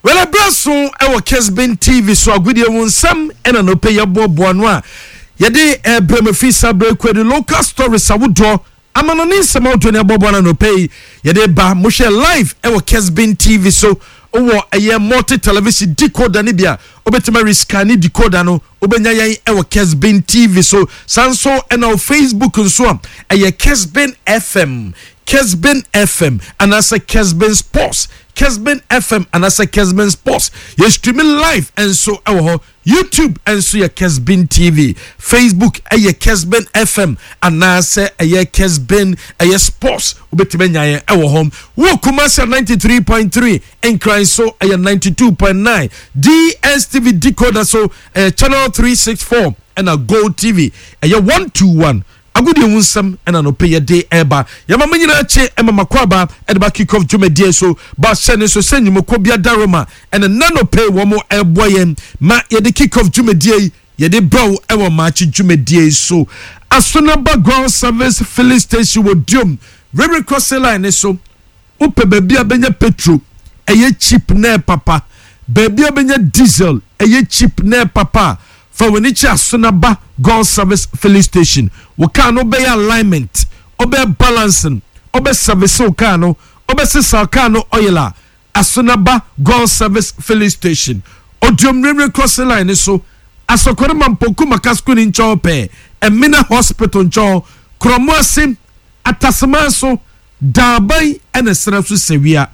Wɛlɛ berɛ so wɔ Kesbin TV so agodie ho nsɛm ɛna nɔpɛ yɛboaboa no a yɛde ɛbrɛ mu firi saa berɛ kɔ de local stories awodoɔ amanɔne nsɛm ahodoɔ ne aboaboa no anɔpɛ yi yɛde ba mohwɛ live ɛwɔ Kesbin TV so wɔ ɛyɛ multi television decoder ne bi a wobɛtumi arescan decoder no wobɛnya yɛn ɛwɔ Kesbin TV so saa nso ɛna wɔ Facebook nso a ɛyɛ Kesbin FM Kesbin FM anaasɛ Kesbin Sports Kesbin FM anaasɛ Kesbin Sports yɛ streaming live nso ɛwɔ hɔ YouTube nso yɛ Kesbin TV Facebook ɛyɛ Kesbin FM anaasɛ ɛyɛ Kesbin ɛyɛ Sports wobɛtumi anya yɛn ɛwɔ hɔ wɔ Kumasi 93.3 Nkran so ɛyɛ 92.9 DSTV decoder so ɛyɛ channel 364 ɛna Gold TV ɛyɛ 121 Agodie ho nsɛm ɛna anɔpɛ yɛde ɛreba. Yɛma mo nyinaa kye ɛma mako aba ɛde ba kick off dwumadie so. Ba hyɛ ne nso sɛ nnwumakuo bi adaroma ɛna nanɔpɛ wɔn ɛreboa yɛn ma yɛde kick off dwumadie yi yɛde brɛ wo ɛwɔ maakye dwumadie yi so. Asonaba Ground Service Filling Station wɔ Duom Railway Crossing Line ne so. Wopɛ baabi a bɛnya petrol ɛyɛ cheap na ɛpapa, baabi a bɛnya diesel ɛyɛ cheap na ɛpapa a, fa w'ani kyerɛ Asonaba Goil Service Filling Station. Wo car no wobɛyɛ alignment, wobɛyɛ balancing, wobɛ service wo car no, wobɛsesa wo car no oil a, Asonaba Goil Service Filling Station, Oduom Railway Crossing Line no so, Asɔkɔre Mampong Kumaka School no nkyɛn hɔ pɛɛ, Emina Hospital nkyɛn hɔ, Kurɔmo ase, Ataseman so, Daaban na serɛ so sɛwia.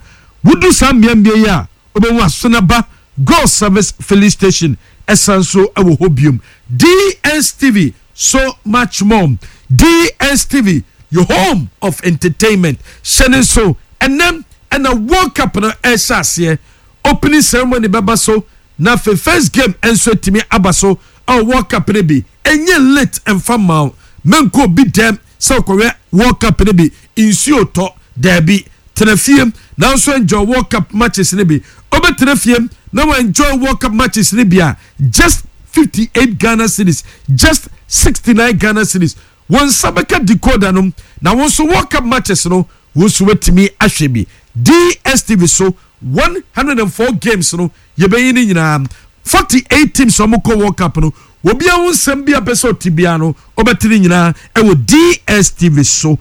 Wodu saa mmeammea yi a, wobɛhu Asonaba Goil Service Filling Station ɛsan so wɔ hɔ biom. DSTV, so much more. DSTV, your home of entertainment. Hyɛ ne nso, ɛnɛ ɛna World Cup no ɛrehyɛ aseɛ. Opening ceremony bɛba so na afei first game nso atumi aba so ɛwɔ World Cup no bi. Ɛnyɛ late ɛmfa mma wo. Menkɔ obi dɛm sɛ wokɔhwɛ World Cup no bi, nsuo tɔ, daabi. Tena fie nanso enjoy World Cup matches no bi. Wobɛtena fie na wa enjoy World Cup matches no bi a, just 58 Ghana cedis, just 69 Ghana cedis. Wo nsa bɛka decoder no na wo nso World Cup matches no, wo nso woatumi ahwɛ bi. DSTV so 104 games no, yɛbɛyi ne nyinaa. 48 teams a wɔkɔ World Cup no, obiara ho nsɛm bi a pɛ sɛ ɔte biara no, wobɛte ne nyinaa ɛwɔ DSTV so.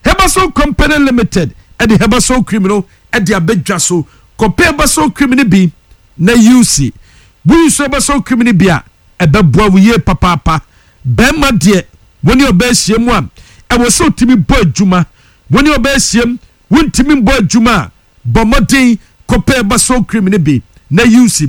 Herbasol Company Limited ɛde Herbasol cream no ɛde abɛdwa so. Kɔpɛ Herbasol cream no bi na use. Woyi so Herbasol cream no bi a, ɛbɛboa wo yie papaapa. Bɛrima deɛ, wo ne ɔbaa ahyia mu a, ɛwɔ sɛ wotumi bɔ adwuma. Wo ne ɔbaa ahyia mu, wontumi mbɔ adwuma a, bɔ mmɔden kɔpɛ Herbasol cream no bi na use.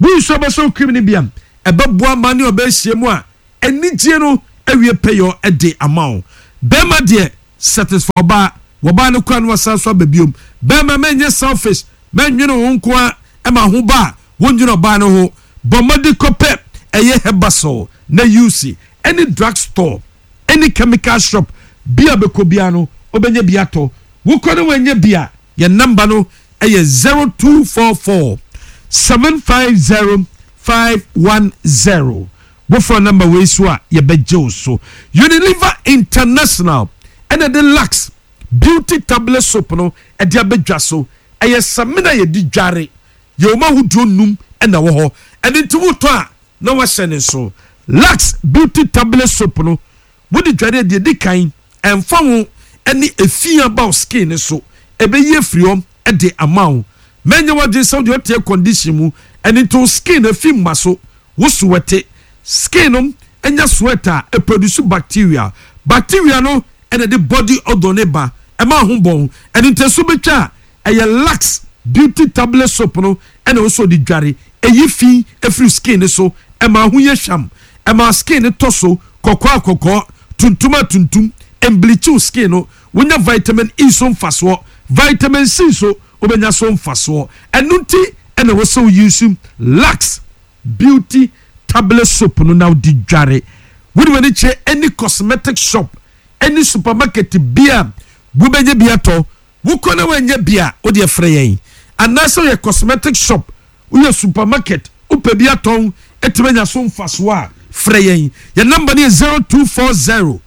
Woyi so Herbasol cream no bi a, ɛbɛboa ma ne ɔbaa ahyia mu a, anigye no awie pɛyɔ de ama wo. Bɛrima deɛ, satisfy ɔbaa. Wɔbaa no kora no wasan so aba biom. Bɛrima mɛnyɛ selfish, mɛnwene wo nko a ɛma ho ba a, wondwene ɔbaa no ho. Bɔ mmɔden kɔpɛ ɛyɛ Herbasol na use. Any drug store, any chemical shop bi a bɛkɔ biara no, wobɛnya bi atɔ. Wokɔ no wanya bi a, yɛn number no ɛyɛ 0244 750 510. Wofrɛ number wei so a, yɛbɛgye wo so. Unilever International ɛna de Lux Beauty Tablet Soap no ɛde abɛdwa so. Ɛyɛ samina yɛde dware. Yɛwɔ mu ahodoɔ num ɛna wɔ hɔ. Ɛno nti wotɔ a na wahyɛ ne nso. Lux Beauty Tablet Soap no wode dware a deɛ di kan ɛmfa ho ɛne efi aba wo skin ne so. Ɛbɛyi afiri hɔ ɛde ama wo. Mɛnyɛ w'adwene sɛ wode ɔte air condition mu ɛno nti wo skin afi mma so. Wo sweat skin no anya sweat a ɛproduce bacteria. Bacteria no ɛna de body odor ne ba ɛma ho bɔn. Ɛno nti ɛso bɛtwa a ɛyɛ Lux Beauty Tablet Soap no ɛna wo so de dware. Ɛyi fi afiri skin ne so, ɛma ho yɛ hwam, ɛma skin ne tɔ so kɔkɔɔ a kɔkɔɔ, tuntum a tuntum, ɛmbleach wo skin no. Wonya vitamin E so mfasoɔ, vitamin C so wobɛnya so mfasoɔ. Ɛno nti ɛna wɔ sɛ wo use Lux Beauty Tablet Soap no na wode dware. Wode w'ani kyerɛ any cosmetic shop, any supermarket bi a wobɛnya bi atɔ. Wokɔ na woanya bi a, wode frɛ yɛn. Anaasɛ woyɛ cosmetic shop, woyɛ supermarket, wopɛ bi atɔn, ɛtumi anya so mfasoɔ a, frɛ yɛn. Yɛn number no yɛ 0240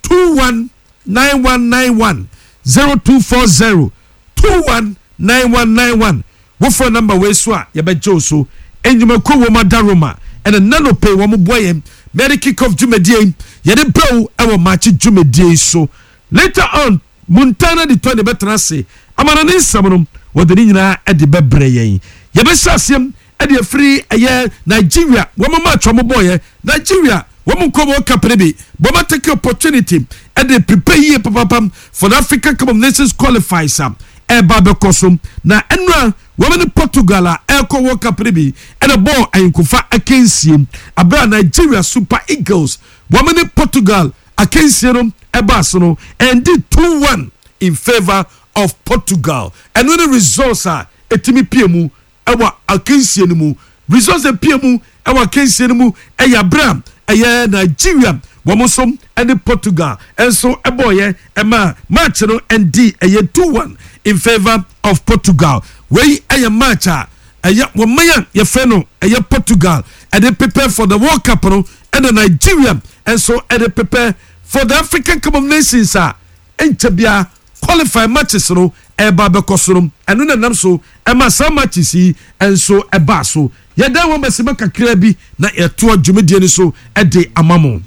21 9191 0240 21 9191. Wofrɛ number wei so a, yɛbɛgye wo so. Nnwumakuo wɔ mu Adaroma ɛna Nanope wɔn boa yɛn ma yɛde kick off dwumadie yi yɛde brɛ wo ɛwɔ Maakye dwumadie yi so. Later on, Montana de Tony bɛtena ase ama no ne nsɛm no wɔde ne nyinaa de bɛbrɛ yɛn. Yɛbɛhyɛ aseɛ de afiri ɛyɛ Nigeria wɔn match wɔn bɔɔyɛ. Nigeria wɔn nkɔ World Cup no bi but wɔn atake opportunity de prepare yie papapa for the Africa Cup of Nations qualifiers a ɛreba abɛkɔ so. Na ɛnora wɔn ne Portugal a ɛrekɔ World Cup no bi ɛna bɔɔ ayɔnkofa akansie abere a Nigeria Super Eagles wɔn ne Portugal akansie no ɛbaa so no ɛndi 2-1 in favour of Portugal. Ɛno ne results a ɛtumi pie mu ɛwɔ akansie no mu. Results a ɛpie mu ɛwɔ akansie no mu ɛyɛ abere a ɛyɛ Nigeria wɔn nso ɛne Portugal ɛnso ɛbɔɔyɛ ɛma match no ɛndi ɛyɛ 2-1 in favour of Portugal. Wei ɛyɛ match a ɛyɛ wɔn man a yɛfrɛ no ɛyɛ Portugal ɛde prepare for the World Cup no, ɛna Nigeria ɛnso ɛde prepare for the African Cup of Nations a ɛnkyɛ bia qualify matches no ɛreba abɛkɔ so no. Ɛno na nam so ɛma saa matches yi nso ɛbaa so. Yɛdan wɔn bɛsɛmɛ kakra bi na yɛtoa dwumadie no so ɛde ama mo.